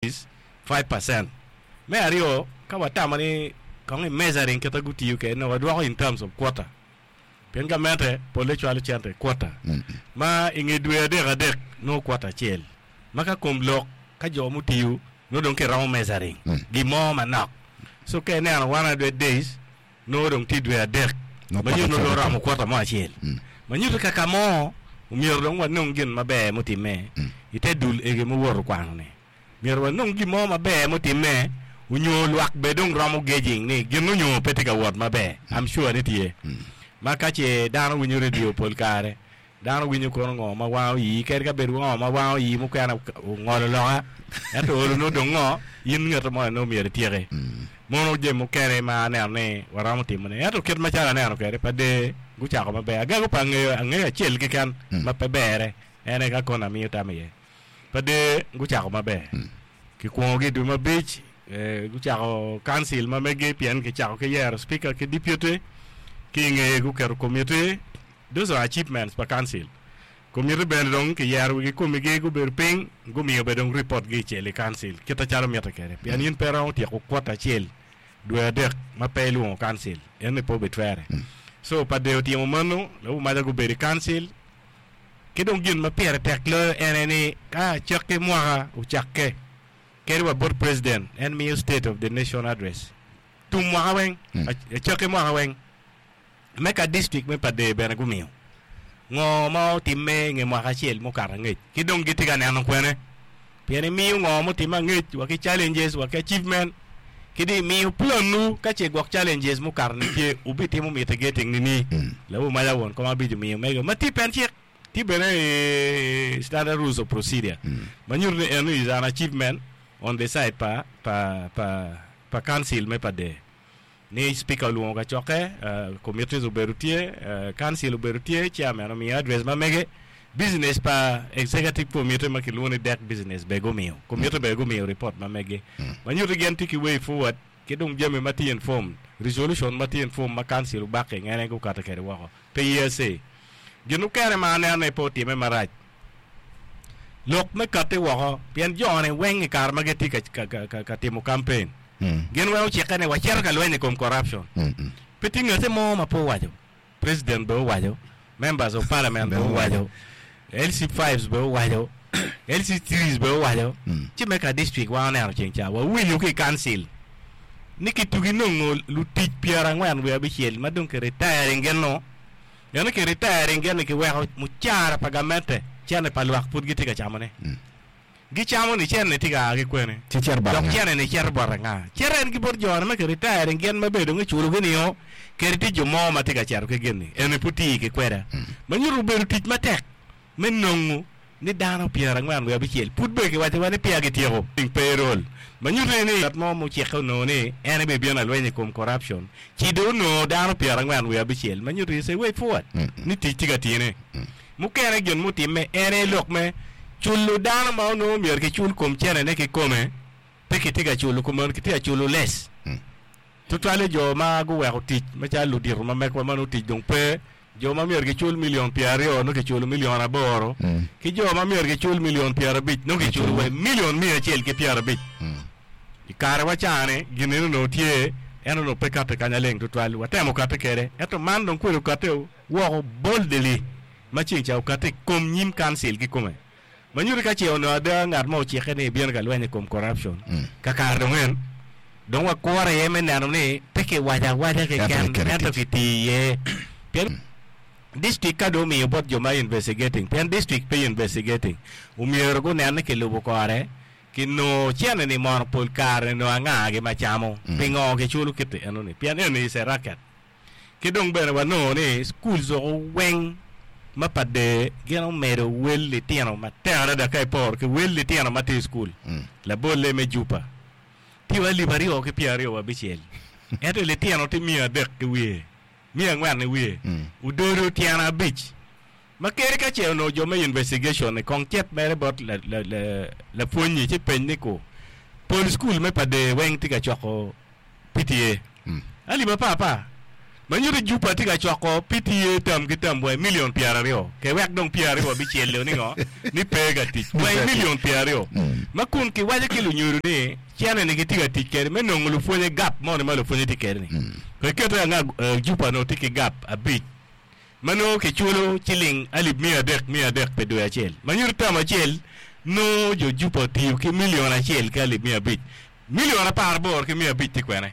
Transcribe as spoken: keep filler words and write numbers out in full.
Is five percent. Me aryo, ka watamo ni kong i measuring kite gutiyo kwede nongo wadwoko in terms of quota pien gamente polle cwalo cente i quota ma i nge dwe adek adek nongo quota acel ma ka kom lok ka jo mutiyo nongo dong kiromo measuring gin mo manok so ka ineno one hundred days nongo dong tye dwe adek ma nyuto nongo dong oromo quota mo acel ma nyuto ka ka mo omyero dong wanong gin maber mutimme i te dul egi muwoto kwano-ni. Myero wanong gin mo maber mutimme onyo lwak bene dong romo gauging ni gin onyo pe tye ka wot maber. I'm sure ni tye. Ma ka ce dano winyo radio pol kare, dano winyo kono ngo ma wango ii, kadi ka bed ngo ma wango ii mukene ongolo loka, ento olo nongo dong ngo, in ngete mo nongo myero ityeki. Mono jami mukene ma aneno ni waromo timone. Ento kit macalo aneno kwede, pa der gucako maber. Agago pa angeyo, angeyo acel keken ma pe berre, en aye ka kono amiyo tam iye. Pa der gucako maber. Kikwongogi i dwe me abic, gucako kancil ma megi pien kicako ki yero speaker ki deputy, ki i ngeye guketo committee. Those are achievements pa kancil. Committee bene dong kiyero wigi komigi gubedo piny, gumiyo bene dong report gi icel i kancil kit acalo mitte kwede. Pien in pe iromo tyeko kwota acel dwe adek ma pe ilwongo kancil, eni pe obitwere. So pa der otimo meno, lawu maca gubedo i kancil. Ki dong gin ma pire tek loyo en aye ni ka acakki mwaka ocakke, kadi wa bot president en miyo state of the nation address tum mwaka weng, acakki mwaka weng. Me ka district me Pader bene gumiyo ngo ma otimme i nge mwaka acel mukato angec ki dong gitye ka neno kwene pien imiyo ngo mutimme angec wa ki challenges wa ki achievement ki dong imiyo planwu ka ce gwok challenges mukato ni tye wubitimo mitigating nini lawu maca won kom abic omiyo mege ma tye pen cik tye bene i standard rules of procedure ma nyuto ni eno is an achievement on the side pa pa pa pa council me Pader ni speaker olwongo kacokke committees obedo tye council obedo tye chairman omiyo address ma mege business pa executive committee ma kilwongo ni dek business bene gumiyo committee bene gumiyo report ma mege ma nyuto gin tye ki way forward ki dong jami ma tye informed resolution ma tye informed ma council obakke ngene gukato kwede woko pe hearsay gin mukene ma aneno ni pe otime marac lok me kati woko pien jone weng i kare ma gitye ka, ka, ka, ka timo campaign gin weng ocikke ni wacito ka lweny i kom corruption pe tye ngate mo ma pe owaco president bene owaco members of parliament bene owaco L C fives bene owaco L C threes bene owaco ci me ka district wan oneno ceng ca wawinyo ki i council ni kitugi nongo lutic pyerangwen wiye abicel ma dong ki retiring gin no eno ki retiring gin ni kiweko mucara pa gamente cene pa lwak pud gitye ka camone gicamo ni cene tye ka a ki kwene Ci cito bot dok anga? cene ni cito bot anga cito en ki bot jone ma ki retiring gin ma bene dong iculogi nio kadi tye jo mo ma tye ka cito ki gin-ni eni pud tye ki kweda ma nyuto obedo tic matek me nongo ni dano pyerangwen wiye abicel pud bene kiwacowa ni peya gityeko payroll ma nyuto ni ngat mo mucikke onongo ni en ebibino alweny i kom corruption ci dong onongo dano pyerangwen wiye abicel ma nyuto is a way forward ni tic tye ka tine mukene gin mutimme en aye lok me culo dano ma onongo myero kicul kom cenene kikome pe kitye ka culo kumeno kitye ka culo less tutwalle jo ma guweko tic macalo ludito ma mekwa ma nongo tic dong pe jo ma myero gicul milion pyeraryo nongo kiculo milion aboro ki jo ma myero gicul milion pyerabic nongo kiculo wa milion miya acel ki pyerabic i kare wa cani gin eni onongo tye en onongo pe kati kanya leng tutwal watemo kati kwede ento man dong kwede okati woko boldly ma ceng ca okati i kom nyim council kikome ma nyuto ka ce onongo ada ngat mo ocikke ni ebino ka lweny i kom corruption kakare dong en dong wakuro iye me neno ni pe kiwaco awaca keken ento kitiyo iye pien district ka dong omiyo bot jo ma investigating pien district pe investigating omyero gunen ni kilubo kore kinongo cene ni mono pol kare nongo angagi ma camo pingo kiculo kiti enoni pien eni is a racket ki dong bene wanongo ni schools oko weng ma pa der gin omedo wel litino matek adada ka iporo ki wel litino ma tye i school labolle me Juba tye wa alip aryo ki pyeraryo wa abicel ento litino tye miya adek ki wiye miya angwen i wiye ododo tyene abic ma kadi ka ce onongo jo me investigation ni kong cet mere bot lapwony-nyi ci peny ni ko pol school me pa der weng tye ka coko P T A alip apar apar Ma nyuto Jupa tye ka coko P T A term ki term wa million pyeraryo. Ke wek dong pyeraryo abicel ni ngo ni pe ka tic. Wa million pyeraryo. Ma kun kiwaco ki lunyodo ni cene ni gitye ka tic kede me nongo lupwonye gap moni ma lupwonye tye kede ni. Ko iketo anga uh, Jupa no tye ki gap abic. Ma nongo kiculo ciling alip mia adek mia adek pi dwe acel. Ma nyuto term acel nongo jo Jupa otiyo ki million acel ki alip mia abic. Million apar aboro ki mia abic tye kwene.